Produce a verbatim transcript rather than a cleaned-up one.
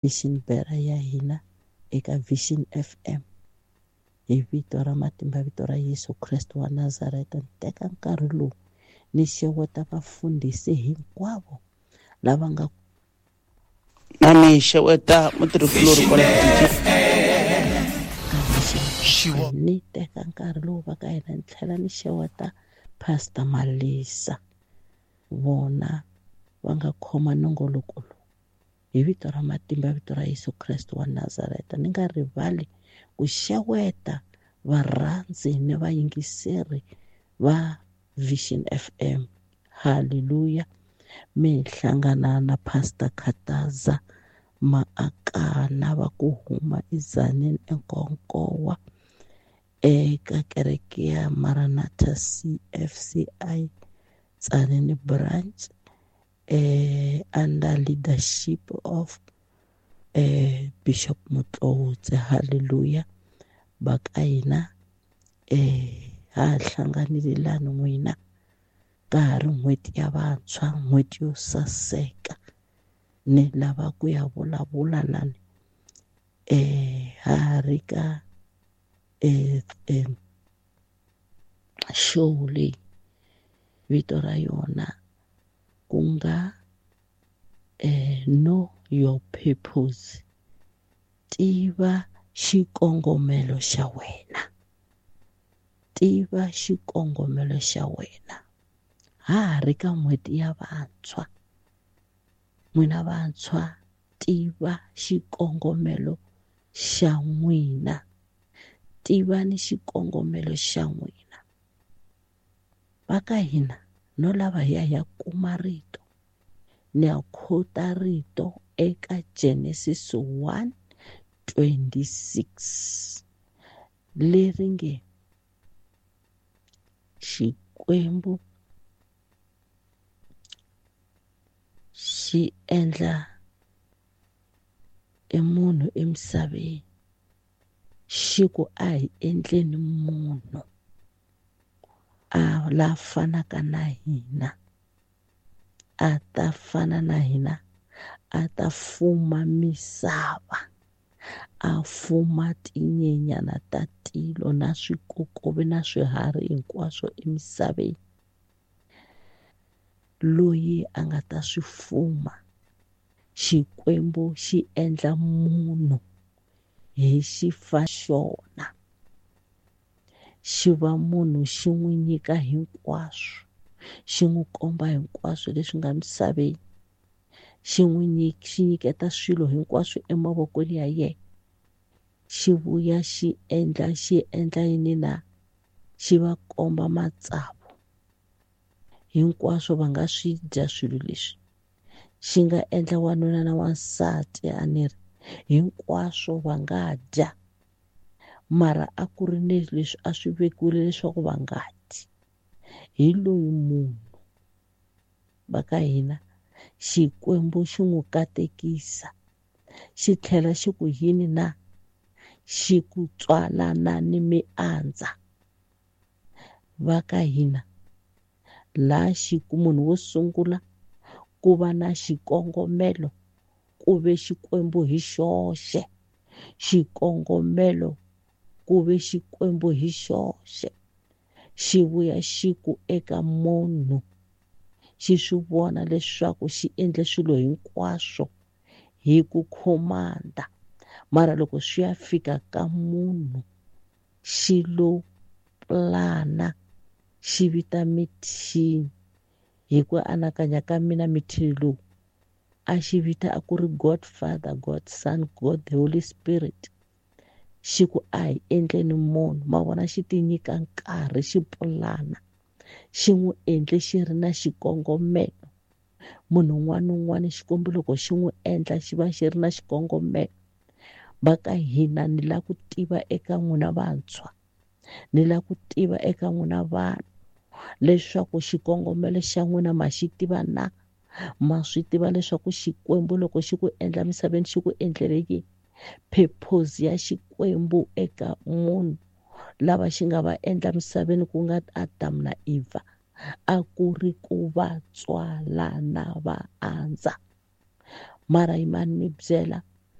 Vision Bera ya hina eka Vision F M hi vito ra matimba, vito ra Yesu Kreste wa Nazareta. Ni teka nkarhi lowu ni xeweta vafundhisi hinkwavo lava nga na ni xeweta mutirhikulori kwala ka ni teka nkarhi lowu va ka hina ni tlhela ni xeweta Pastor Malisa, vona va nga khoma nongoloko lowu hi vito ra matimba, vito ra Yesu Kreste wa Nazareta. Ni nga rivali ku xeweta varhandzi ni vayingiseri va Vision F M. Hallelujah. Mi hlangana na Pastor Khataza Maakana va ku huma eZanini eNkonkowa eka kereke ya Maranatha C F C I Tzaneen branch, eh, under leadership of eh, Bishop Motloutse. Hallelujah. Va ka hina eh, ha hlanganile lani n'wina ka ha ri n'hweti ya vantshwa, n'hweti yo saseka. Ni lava ku ya vulavula lani eh, ha ri ka eh, eh, show leyi vito ra yona ku nga eh, Know Your Purpose, tiva xikongomelo xa wena, tiva xikongomelo xa wena. Ha ha ri ka n'hweti ya vantshwa, n'wina vantshwa tiva xikongomelo xa n'wina, tivani xikongomelo xa n'wina. Va ka hina no lava hi ya hi ya kuma rito, ni ya quote rito eka Genesis one twenty-six leri nge Xikwembu xi endla e munhu emisaveni, xi ku a hi endleni munhu a la fanaka na hina, a ta fana na hina, a ta fuma misava, a fuma tinyenyana ta tilo na swikokovi na swiharhi hinkwaswo emisaveni. Loyi a nga ta swi fuma, Xikwembu xi endla munhu hi xifa xona, xi va munhu xi n'wi nyika hinkwaswo, xi n'wi komba hinkwaswo leswi nga misaveni, xi n'wi nyik-, xi nyiketa swilo hinkwaswo emavokweni ya yena, xi vuya xi endla, xi endla yini na, xi va komba matsavu hinkwaswo va nga swi dya swilo leswi, xi nga endla wanuna na wansati a ni ri hinkwaswo va nga dya, mara a ku ri ni leswi a swi vekiwile leswaku va nga dyi. Hi loyi munhu va ka hina Xikwembu xi n'wi katekisa, xi tlhela xi ku yini na, xi ku tswalana ni miandza. Va ka hina laha xi ku munhu wo sungula ku va na xikongomelo ku ve Xikwembu hi xoxe, xikongomelo ku ve Xikwembu hi xoxe, xi vuya xi ku eka munhu, xi swi vona leswaku xi endle swilo hinkwaswo hi ku khomanda, mara loko swi ya fika ka munhu xi lo plana, xi vita mithini. Hi ku anakanya ka mina mithini lowu a xi vita a ku ri God Father, God Son, God the Holy Spirit. Xi ku a hi endleni munhu, ma vona xi ti nyika nkarhi, xi pulana, xi n'wi endle xi ri na xikongomelo. Munhu un'wana na un'wana Xikwembu loko xi n'wi endla xi va xi ri na xikongomelo. Va ka hina ni lava ku tiva eka n'wina vantshwa, ni lava ku tiva eka n'wina vanhu leswaku xikongomelo xa n'wina ma xi tiva na, ma swi tiva leswaku Xikwembu loko xi ku endla misaveni xi ku endlele yini, purpose ya Xikwembu eka munhu lava xi nga va endla misaveni ku nga Adam na Eva a ku ri ku va tswalana va andza. Mara yimani mi byela